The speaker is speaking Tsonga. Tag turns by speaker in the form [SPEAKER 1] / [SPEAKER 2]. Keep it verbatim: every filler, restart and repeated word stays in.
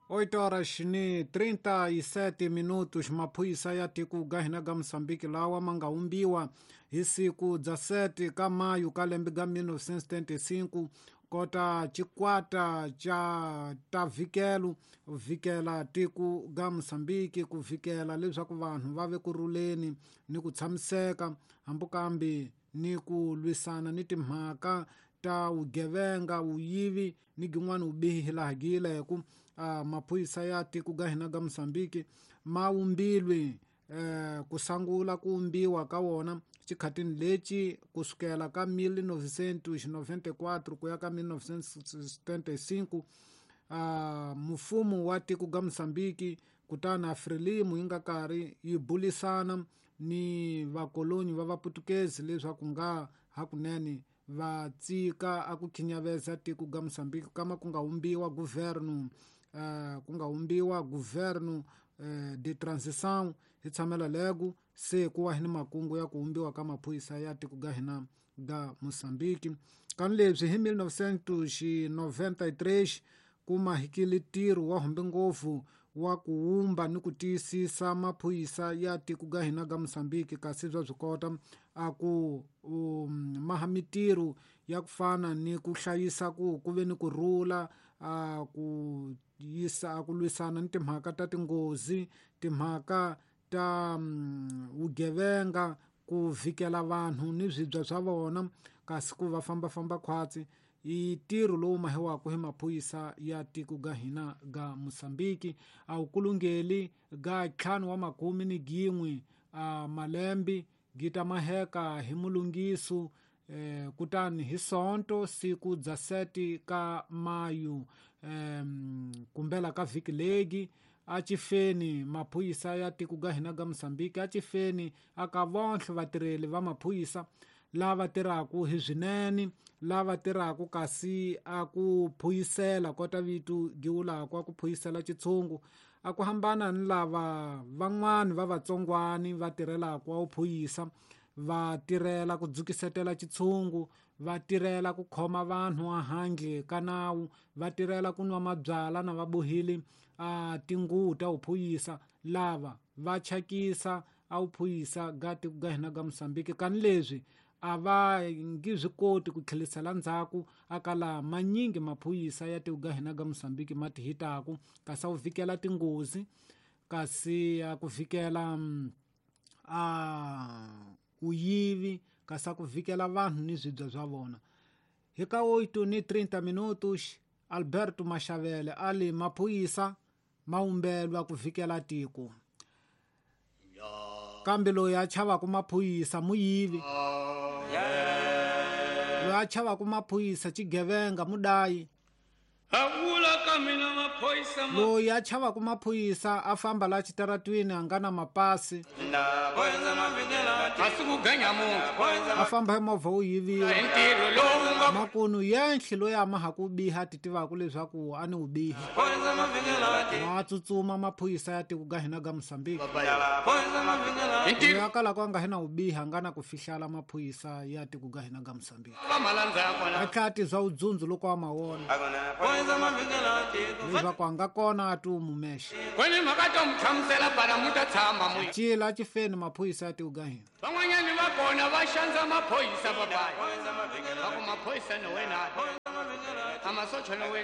[SPEAKER 1] oito horas ni trinta e sete minutos. Maphorisa ya tiko ga hina ga Mozambique lawa ma nga umbiwa hi siku dezessete ka maio ka lembe ga mil novecentos e setenta e cinco kota chikwata cha ta vikelo vikela tiko ga Mozambique ku vikela leswaku vanhu va ve kurhuleni ni ku tshamiseka hambukambi ni ku lwisana ni timhaka ta vugevenga vuyivi ni gin'wana vubihi laha gileku. Uh, maphorisa ya tiko ga hina ga Mozambique ma umbilwe eh, ku sangula ku umbiwa ka wona xikhatini lexi kusukela ka mil novecentos e noventa e quatro ku ya ka mil novecentos e setenta e cinco. Uh, mfumo wa tiko ga Mozambique kutani Frelimo yi nga karhi yi bulisana ni vakoloni va vaputukezi leswaku nga hakunene va tsika a ku khinyaveza tiko ga Mozambique kama ku nga umbiwa governo uh, ku nga umbiwa governo uh, de transição hi tshamela lego se ku wa hi ni makungu ya ku umbiwa ka maphorisa ya tiko ga hina ga Mozambique. Kan leswi hi mil novecentos e noventa e três ku mahikile ntirho wa humbe ngopfu wa ku wumba ni ku tiyisisa maphorisa ya tiko ga hina ga Mozambique kasi bya byi kota a ku um, maha mitirho ya ku fana ni ku hlayisa ku ku ve ni ku rhula a ku yisa a ku lwisana ni timhaka ta tinghozi timhaka ta um, vugevenga ku vikela vanhu ni swibya swa vona kasi ku va fambafamba khwatsi i ntirho lowu mahiwaka hi maphorisa ya tiko ga hina ga Mozambique. A wu kulungeli ga ntlhanu wa makume ni gin'we a malembe gita maheka hi mulungiso eh, kutani hi sonto siku dezessete ka maio eh, kumbela ka vhiki legi a chifeni maphorisa ya tiko ga hina ga Mozambique a chifeni aka vonhle vatirheli va maphorisa lava tirhaka hi swinene lava tirhaka kasi a ku phuyisela kota vito giwulaka a ku phuyisela xitshungu a ku hambana ni lava van'wani va vatsongwani va tirhelaka wa phuyisa va tirhela ku dzukisetela xitshungu va tirhela ku khoma vanhu ehandle ka nawu va tirhela ku nwa mabyala na va bohile a tinguvu ta vuphuyisa lava va chakisa a vuphuyisa ga tiko ga hina ga Mozambique. Kani leswi a va ngi swi koti ku tlhelisela ndzhaku aka laha manyingi maphorisa ya tiko ga hina ga Mozambique ma ti hitaku kasi a wu vikela tinghozi kasi a ku vikela a vuyivi kasi a ku vikela vanhu ni swibya swa vona. Hi ka oito ni trinta minutos Alberto Mashavele ali maphorisa ma umbelwa ku vikela tiko kambe loyi a chavaka maphorisa muyivi loyi a chavaka maphorisa xigevenga mudayi loyi a chavaka maphorisa a famba la xitaratwini a nga na mapasi a famba hi movha wu yiviwa makunu yenhle loyi a ma ha ku biha ti tivaka leswaku a ni wu bihi ma tsutsuma maphorisa ya tiko ga hina ga Mozambique loyi a kalaka a nga hina wu biha a nga na ku fihlala maphorisa ya tiko ga hina ga Mozambique a tlhela a tizwa vudzundzu loko a ma vona leswaku a nga kona a ti wu mumexe cila xifeni maphorisa ya tiko ga hina
[SPEAKER 2] van'wanyani va kona va xandza maphorisa papayi va ku maphorisa no wena a masocha no wena.